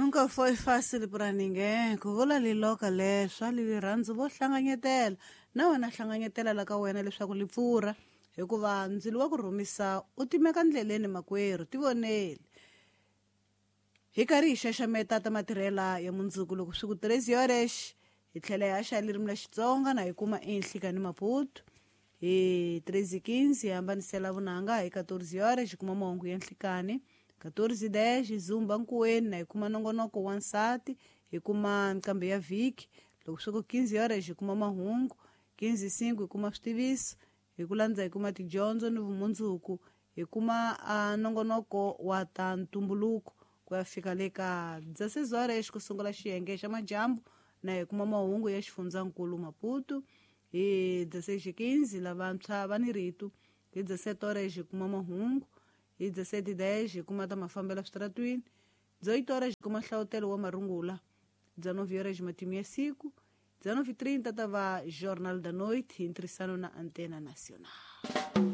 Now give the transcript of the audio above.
Nunca foi fácil para ninguém. Ku vula liloka leswa lirhandzu vo hlanganyetela. Na wena hlanganyetela la ka wena leswaku li pfurha hikuva ndzilo wa ku rhumisa u timeka ndleleni makwerhu tivoneli. Hi karhi hi xaxameta ta matirhela ya mundzuku loko swi ku 13 horas hi tlhela hi haxa ririmi la Xitsonga na hi kuma eNhlikani Maputo. Hi 13:15 hi hambanisela vunanga hi 14 horas hi kuma mahungu ya nhlikani. 14:10 hi zumba nkuweni na hi kuma nongonoko wa nsati hi kuma nqambi ya vhiki. Loko swi ku 15 horas hi kuma mahungu, 15:05 hi kuma switiviso, hi ku landza hi kuma tidyondzo ni vumundzuku, hi kuma nongonoko wa ta ntumbuluko ku ya fika le ka 16 horas ku sungula xiyenge xa madyambu na hi kuma mahungu ya xifundzankulu Maputo. Hi 16:15 lavantshwa va ni rito, hi 17 horas hi kuma mahungu, hi 17:10 hi kuma ta mafambelo switaratwini, 18 horas hi kuma hlavutelo wa marungula, 19 horas matimu ya siku, 19:30 ta va Jornal da Noite hi ntirhisano na Antena Nacional.